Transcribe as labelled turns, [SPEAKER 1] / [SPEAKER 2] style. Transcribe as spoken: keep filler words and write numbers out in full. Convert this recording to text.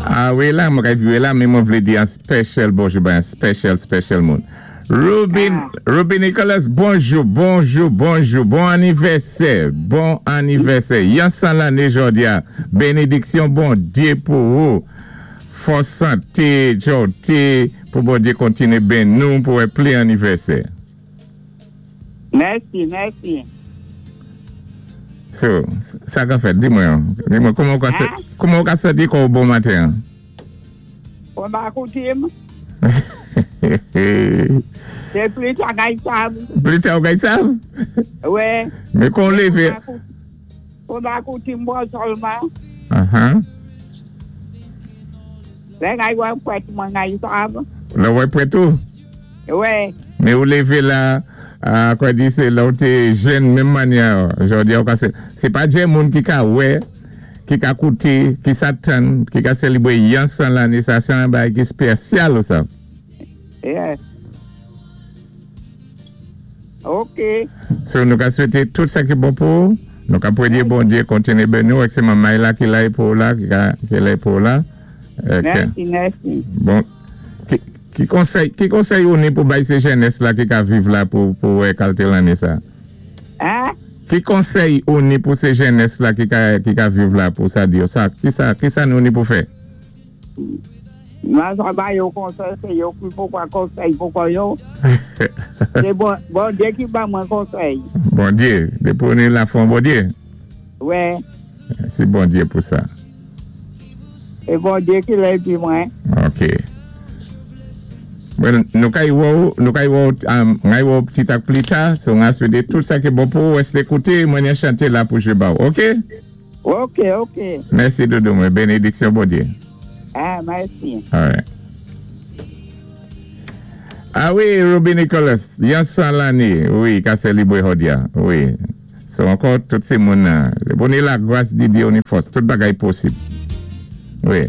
[SPEAKER 1] Ah wi, la, mwen kay viwé la, men mwen vlé di an special bonjou, ba an special, special moun. Ruby, Ruby Nicholas, bonjou, bonjou, bonjou, bon anivèsè, bon anivèsè. Yon san lanné jòdi-a, bénédiksyon Bondyé pou ou. Fòs santé, jòté, pou Bondyé kontiné béni nou pou wè plis anivèsè.
[SPEAKER 2] Mèsi, mèsi.
[SPEAKER 1] So, sa ka fèt, di mwen, di mwen, kouman ou ka sé,
[SPEAKER 2] Hein?
[SPEAKER 1] kouman ou ka santi kò bon maten?
[SPEAKER 2] Kon ba koutim, sé pli ta kay sav.
[SPEAKER 1] Pli ta ou kay sav?
[SPEAKER 2] Wè.
[SPEAKER 1] Men kon lévé.
[SPEAKER 2] Kon ba koutim bon sèlman.
[SPEAKER 1] Uh-huh.
[SPEAKER 2] Lè ngay wè pwèt mwen ngay sav.
[SPEAKER 1] Lè wè pwèt ou?
[SPEAKER 2] Wè.
[SPEAKER 1] Men ou lévé la, a, kwa di sé la ou té jèn menm manyè, jòdi ou ka sé, sé pa djè moun ki ka wè, ki ka kouté, ki sa tann, ki ka sélébwé yon san lanné, sa sé an bagay ki spésyal ou sa.
[SPEAKER 2] Yeah. Ok.
[SPEAKER 1] So nou ka swété tout sa ki bon pou ou, nou ka pwédyé Bondyé kontiné béni ou, ek sé manmay la ki lay pou ou la, ki ka, ki lay pou ou la. Ek,
[SPEAKER 2] Mèsi, mèsi.
[SPEAKER 1] Bon, ki, ki konsèy, ki konsèy ou ni pou bay sé jènès la ki ka viv la pou, pou wè kalité lanné sa?
[SPEAKER 2] Hein?
[SPEAKER 1] Ki konsèy ou ni pou sé jènès la ki ka, ki ka viv la pou sa di yo sa? Ki sa, ki sa nou ni pou fè?
[SPEAKER 2] Mwen sa ba yo konsèy, sé yo ki pou kwa konsèy pou kwa yo. Sé bon, Bondyé ki ba mwen konsèy.
[SPEAKER 1] Bondyé, dépi ou ni lafwa an Bondyé?
[SPEAKER 2] Wè.
[SPEAKER 1] Sé Bondyé pou sa.
[SPEAKER 2] Sé Bondyé ki lè di mwen.
[SPEAKER 1] Ok. Well, nou kay wè ou, nou kay wè ou, um, ngay wè ou pti tak pli ta, so nga swété tout sa ki bon pou ou, èsté kouté, mwen yon chanté la pou jwé ba ou, ok?
[SPEAKER 2] Ok, ok.
[SPEAKER 1] Mèsi doudou mwen, bénédiksyon Bondyé.
[SPEAKER 2] Ah, mèsi.
[SPEAKER 1] Alright. Ah wi, Ruby Nicholas, yon san lanné, wi, ka sélébwé jòdi-a, wi. So ankò, tout sé moun, le bon la gras di Dye ou ni fòs, tout bagay posib. Wi.